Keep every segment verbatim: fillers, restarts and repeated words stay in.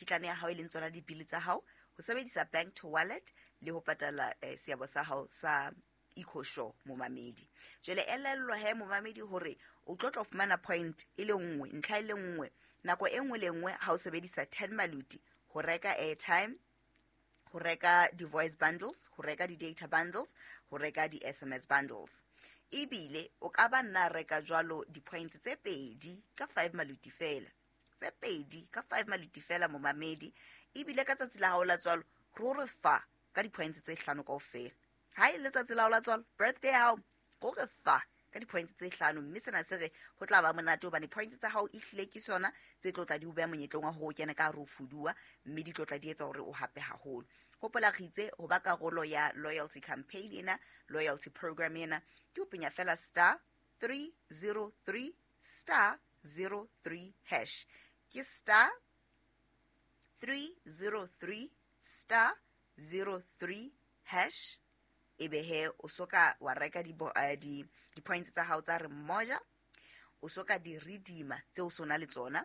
mekitlane ya hao e leng tsona dibili tsa hao, ho sebedisa bank to wallet le ho patala eh, seabo sa hao sa EcoSure momamedi. Jwale elellwa he momamedi hore o tlo tlo fumana point e le nngwe, ntlha e le nngwe nako e nngwe le nngwe ha o sebedisa ten maluti ho reka airtime, ho reka di-voice bundles, ho reka di-data bundles, ho reka di-S M S bundles. Ebile o ka ba nna reka jwalo di-points tse pedi ka five maluti fela, tse pedi ka five maluti fela momamedi. Ebile ka tsatsi la hao la tswalo ruri fa ka di-points tse hlano kaofela. Ha e letsatsi la hao la tswalo, birthday ya hao, ruri fa ka di-points tse hlano, mme sena se re ho tla ba monate hobane points tsa hao ehlile ke sona tse tlo tla di o beha monyetleng wa hore o kene ka hare ho fuduwa, mme di tlo tla di etsa hore o hape haholo. Hopola re itse ho ba karolo ya loyalty campaign ena, loyalty program ena, ke ho penya fela star three zero three star zero three hash. Ke star three zero three star zero three hash. Ebe he o soka wa reka di bo, eh, di, di points tsa hao tsa re mmoja, o soka di redeema tse o sona le tsona,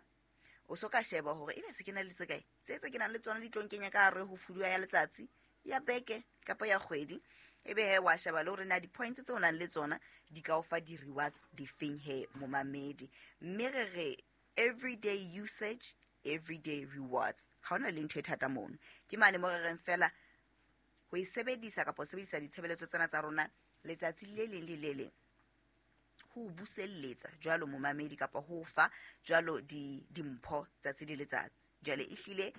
o soka sheba hore ebe se ke na le tse kae, tse tse ke nang le tsona di tlo nkenya ka hare ho fuduwa ya letsatsi, ya beke kapa ya kgwedi. Ebe he wa sheba le hore na di points tse o nang le tsona di ka o fa di rewards difeng he momamedi. Mme re re everyday usage, everyday rewards. Ha hona le ntho e thata mono. Ke mane mo re reng fela ho e sebedisa kapa ho sebedisa ditshebeletso tsena tsa rona letsatsi le leng le le leng, ho buselletsa jwalo momamedi kapa ho fa jwalo di dimpho tsatsi le letsatsi. Jwale ehlile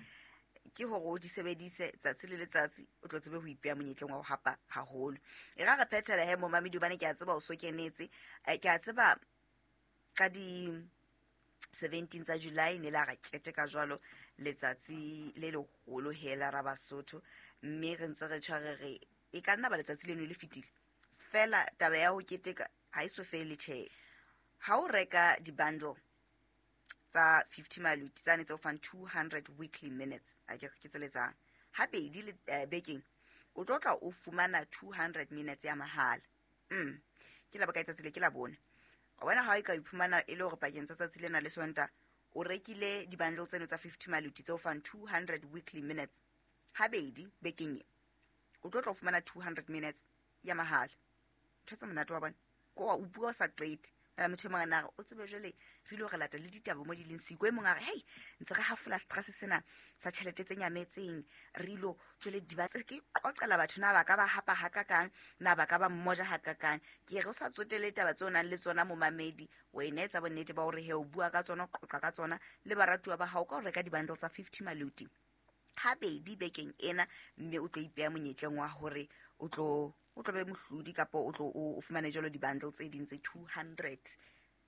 ke hore o di sebedise tsatsi le letsatsi, o tlo tsebe ho ipeha monyetleng wa ho hapa haholo. E ra re phethela he momamedi, hobane ke a tseba o so kenetse, eh, ke a tseba ka di seventeen tsa July ne la ra keteka jwalo letsatsi le leholo hela ra Basotho, mme re ntse re tshware re e ka nna ba letsatsi leno le fetile fela taba ya ho keteka ha e so fele tjhe. Ha o reka di-bundle tsa fifty maluti tsane tse o fang two hundred weekly minutes, a ke ke tseletsang habedi le, eh, bekeng, o tlo tla o fumana two hundred minutes ya mahala. Mm. Ke la bokae tsatsi le? Ke la bone. Wa bona ha e ka iphumana e le hore pakeng tsa tsatsi lena le Sontaha o rekile di-bundle tseno tsa fifty maluti tse o fang two hundred weekly minutes habedi bekeng e, o tlo tla o fumana two hundred minutes ya mahala. Ntho tse monate wa bona, ko wa o bua o sa qete. Nna motho e mong a na re, o tsebe jwale re ile ho re lata le ditaba mo di leng siko. E mong a re, hei, ntse re hafola stress sena sa tjhelete tse nyametseng, re ilo jwale di ba tse ke qoqela batho na ba ka ba hapa hakakang, na ba ka ba mmoja hakakang. Ke re o sa tsotele taba tseo o nang le tsona momamedi, wena etsa bonnete ba hore he o bua ka tsona, o qoqa ka tsona le baratuwa ba hao ka ho reka di-bundle tsa fifty maluti habedi bekeng ena, mme o tlo ipeha monyetleng wa hore o tlo o tlo be mohlodi kapa o tlo o fumane jwalo di-bundle tse ding tse two hundred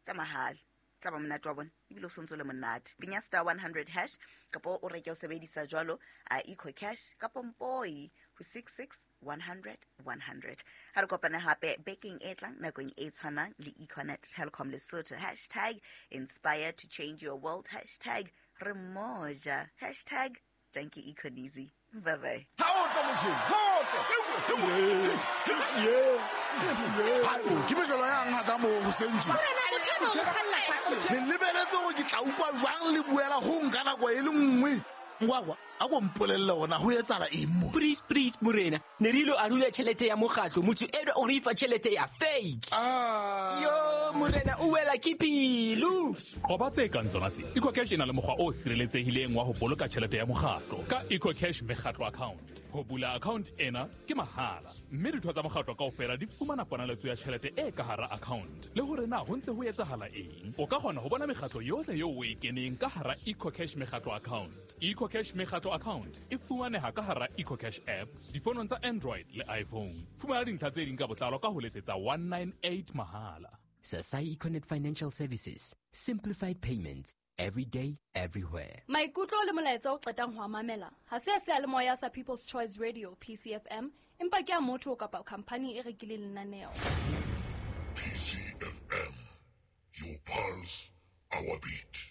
tsa mahala. Tla ba monate wa bona, ebile o sontso le monate. Penya star one hundred hash kapa o reke o sebedisa jwalo a Eco Cash kapa Mpoi ho six six one hundred one hundred. Ha re kopane hape bekeng e tlang nakong e tshwanang le Econet Telkom Lesotho. Hashtag inspire to change your world. Hashtag re mmoja. Hashtag thank you Econeasy. Bye bye. Ha o tla motho, ha o tla. Ke mejolo yang haka mo ho sentse. Le lebeletse hore ke tla utlwa jwang le buela ho nka nako e le nngwe. Ngwakwa, a ko mpolelle hore ho etsahala eng mo? Please, please, morena. Ne re ilo arula tjhelete ya mokgatlo, motho enwa o re fa tjhelete ya fake. Ah. Yo, morena, o wela ke pelo. Qoba tse kang tsona tse. EcoCash e na le mokgwa o sireletsehileng wa ho boloka tjhelete ya mokgatlo ka EcoCash mekgatlo account. Ho bula account ena ke mahala, mme ditho tsa mokgatlo kaofela di fumana ponaletso ya tjhelete e ka hara account. Le hore na ho ntse ho etsahala eng. O ka kgona ho bona mekgatlo yohle eo o e keneng ka hara EcoCash mekgatlo account. EcoCash mekgatlo account e fumaneha ka hara EcoCash app difonong tsa Android le iPhone. Fumana dintlha tse ding ka botlalo ka ho letsetsa one nine eight mahala. Sasai Econet Financial Services, simplified payments every day, everywhere. Maikutlo le molaetsa o qetang ho a mamela ha se a seyalemoya sa People's Choice Radio P C F M, empa ke a motho kapa khampani e rekileng lenaneo. P C F M, your pulse, our beat.